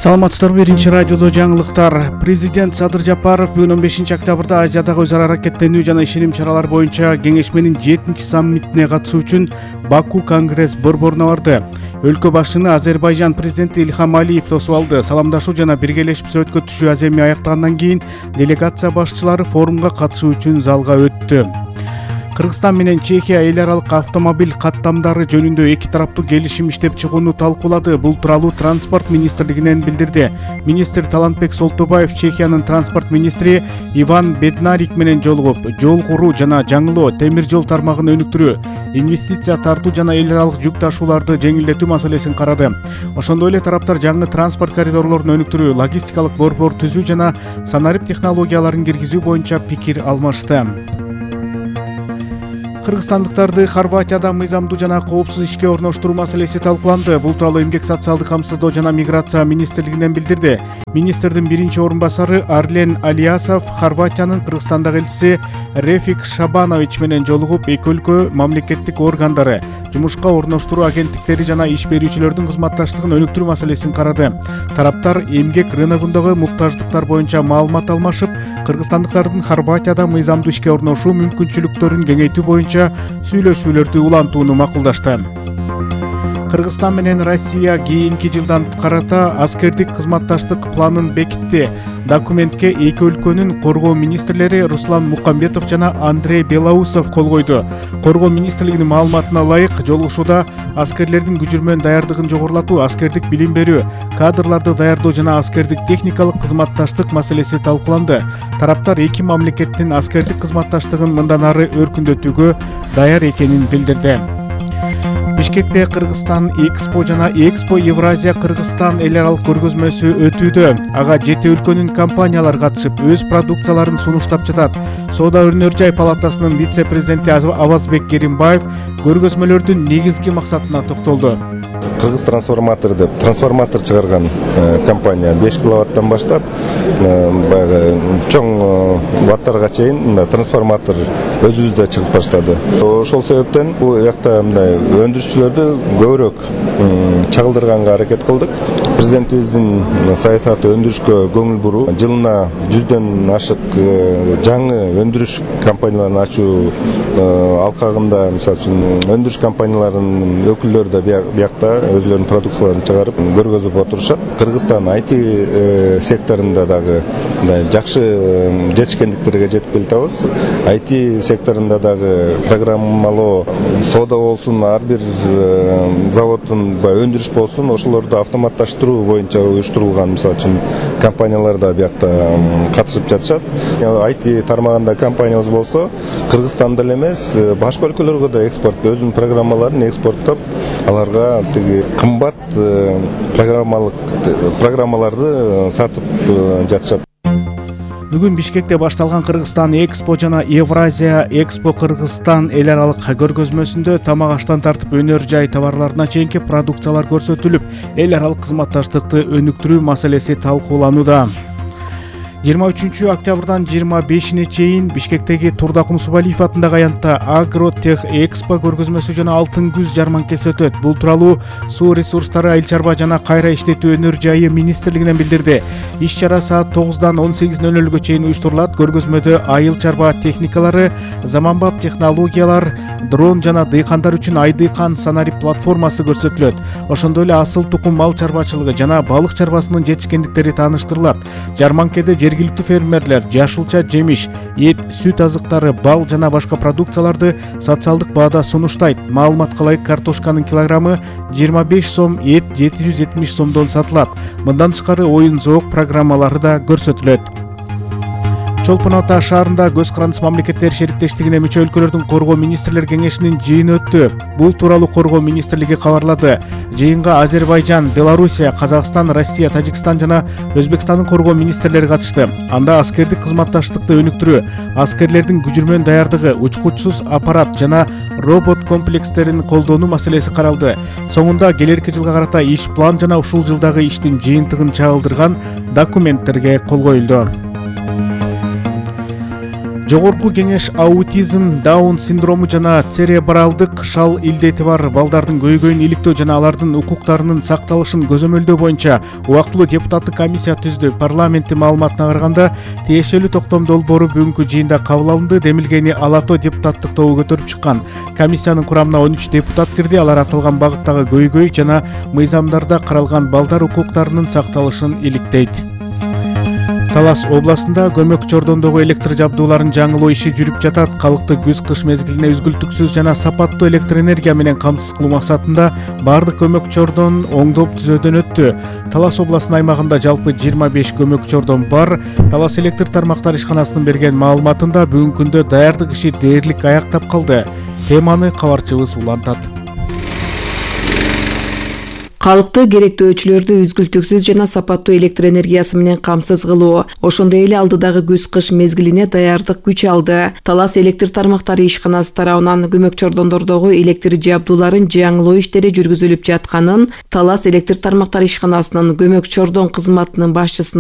Саламатсыздарбы, Биринчи радиодо жаңылыктар. Президент Садыр Жапаров бүгүн 15 октябрда Азиядагы өз ара аракеттенүү жана ишеним чаралар боюнча кеңешменин 7-чи саммитине катышуу үчүн Баку конгресс борборуна барды. Өлкө башчыны Азербайжан президенти Ильхам Алиев тосуп алды. Саламдашуу жана биргелешип сүрөткө түшүү аземи аяктагандан кийин делегация башчылары форумга катышуу үчүн залга өттү. Кыргызстан менен Чехия эл аралык автомобиль каттамдары жөнүндө эки тараптуу келишим иштеп чыгууну талкуулады. Бул тууралуу транспорт министрлигинен билдирди. Министр Талантбек Солтубаев Чехиянын транспорт министри Иван Беднарик менен жолугуп, жол куруу жана жаңылоо, темир жол тармагын өнүктүрүү, инвестиция тартуу жана эл аралык жүк ташууларды жеңилдетүү маселесин карады. Ошондой эле тараптар жаңы транспорт коридорлорун өнүктүрүү, логистикалык борбор түзүү жана санарип технологияларын киргизүү боюнча пикир алмашты. Кыргызстандыктарды Хорватияда мыйзамдуу жана коопсуз ишке орноштуруу маселеси талкууланды. Бул тууралуу Эмгек социалдык камсыздоо жана миграция министрлигинен билдирди. Министрдин биринчи орун басары Арлен Алиасов Хорватиянын Кыргызстандагы элчиси Рефик Шабанович менен жолугуп, эки өлкө мамлекеттик органдары, жумушка орноштуруу агенттиктери жана иш берүүчүлөрдүн кызматташтыгын өнүктүрүү маселесин карады. Тараптар эмгек рыногундагы муктаждыктар боюнча маалымат алмашып, кыргызстандыктардын Хорватияда мыйзамдуу ишке орношуу мүмкүнчүлүктөрүн кеңейтүү боюнча сүйлөшүүлөрдү улантууну макулдашты. Кыргызстан менен Россия кийинки жылдан карата аскердик кызматташтык планын бекитти. Документке эки өлкөнүн коргоо министрлери Руслан Мукамбетов жана Андрей Белоусов кол койду. Коргоо министрлигинин маалыматына ылайык, жолугушууда аскерлердин күчүрмөн даярдыгын жогорулатуу, аскердик билим берүү, кадрларды даярдоо жана аскердик техникалык кызматташтык маселеси талкууланды. Тараптар эки мамлекеттин аскердик кызматташтыгын мындан ары өркүндөтүүгө даяр экенин билдирди. Бишкекте Кыргызстан Экспо жана Экспо Евразия Кыргызстан эл аралык көргөзмөсү өтүүдө. Ага 7 өлкөнүн компаниялары катышып, өз продукцияларын сунуштап жатат. Соода өнөр жай палатасынын вице-президенти Авазбек Керимбаев көргөзмөлөрдүн негизги максатына токтолду. Кыргыз трансформатор деп трансформатор чыгарган компания 5 киловаттан баштап баягы чоң ваттарга чейин трансформатор өзүбүздө чыгып баштады. Ошол себептен бул жакта мындай өндүрүшчүлөрдү көбүрөөк чагылдырганга аракет кылдык. Президентибиздин саясаты өндүрүшкө көңүл буруу, жылына 100дөн ашык жаңы өндүрүш компанияларын ачуу алкагында, мисалы үчүн өндүрүш компанияларынын өкүлдөрү да биякта өзлөрүнүн продукцияларын чыгарып көргөзүп отурушат. Кыргызстан IT секторунда дагы жакшы жетишкендиктерге жетип келатабыз. IT секторунда дагы программалоо, соода болсун, ар бир заводдун өндүрүш болсун, ошолорду автоматташтыруу боюнча уюштурулган, мисалы үчүн компаниялар да биякта катышып жатышат. IT тармагында компаниябыз болсо, Кыргызстанда эле эмес, башка өлкөлөргө да экспорт, өзүнүн программаларын экспорттоп, аларга кымбат программаларды сатып жатышат. Бүгүн Бишкекте башталган Кыргызстан Экспо жана Евразия Экспо Кыргызстан эл аралык көргөзмөсүндө тамак аштан тартып өнөр жай товарларына чейинки продукциялар көрсөтүлүп, эл аралык кызматташтыкты өнүктүрүү маселеси талкууланууда. 23 октябрдан 25-ине чейин Бишкектеги Турда Кумсубалиев атындагы аянтта Агротех Экспо көргөзмөсү жана Алтын күз жарманкеси өтөт. Бул тууралуу Суу ресурстары, айыл чарба жана кайра иштетүү өнөр жайы министрлигинен билдирди. Иш чара саат 9-дан 18:00-гө чейин уюштурулат. Көргөзмөдө айыл чарба техникалары, заманбап технологиялар, дрон жана дыйкандар үчүн Айдыйкан санарип платформасы көрсөтүлөт. Ошондой эле асыл тукум мал чарбачылыгы жана балык чарбасынын жетишкендиктери тааныштырылат. Жарманкеде жергиликтүү фермерлер жашылча жемиш, эт, сүт азыктары, бал жана башка продукцияларды социалдык баада сунуштайт. Маалыматка ылайык, картошканын килограммы 25 сом, эт 770 сомдон сатылат. Мындан тышкары оюн-зоок программалары да көрсөтүлөт. Чолпон Ата шаарында Көз Карандыс мамлекеттер шериктештигине мүчө өлкөлөрдүн коргоо министрлер кеңешинин жыйыны өттү. Бул тууралуу коргоо министрлиги кабарлады. Жыйынга Азербайжан, Белоруссия, Казакстан, Россия, Тажикстан жана Өзбекстандын коргоо министрлери катышты. Анда аскердик кызматташтыкты өнүктүрүү, аскерлердин күчүрмөн даярдыгы, учкучсуз аппарат жана робот комплекстерин колдонуу маселеси каралды. Соңунда келерки жылга карата иш план жана ушул жылдагы иштин жыйынтыгын чагылдырган документтерге кол коюлду. Жогорку кеңеш аутизм, Даун синдрому жана церебралдык шал илдети бар балдардын көйгөйүн иликтөө жана алардын укуктарынын сакталышын көзөмөлдөө боюнча убактылуу депутаттык комиссия түздү. Парламенттин маалыматына караганда, тиешелүү токтом долбоору бүгүнкү жыйында кабыл алынды. Демилгени Ала Тоо депутаттык тобу көтөрүп чыккан. Комиссиянын курамына 13 депутат кирди. Алар аталган багыттагы көйгөй жана мыйзамдарда каралган балдар укуктарынын сакталышын иликтейт. Талас областында көмөк чордондогу электр жабдууларын жаңылоо иши жүрүп жатат. Калкты күз-кыш мезгилине үзгүлтүксүз жана сапаттуу электр энергия менен камсыз кылуу максатында бардык көмөк чордон оңдоп түзөөдөн өттү. Талас областынын аймагында жалпы 25 көмөк чордон бар. Талас электр тармактар ишканасынын берген маалыматында бүгүнкү күндө даярдык иши дээрлик аяктап калды. Теманы кабарчыбыз улантат. Калкты керектөөчүлөрдү үзгүлтүксүз жана сапаттуу электр энергиясы менен камсыз кылуу, ошондой эле алдыдагы күз-кыш мезгилине даярдык күч алды. Талас электр тармактары ишканасы тарабынан көмөк чордондордогу электр жабдууларын жаңылоо иштери жүргүзүлүп жатканын Талас электр тармактары ишканасынын көмөк чордон кызматынын башчысына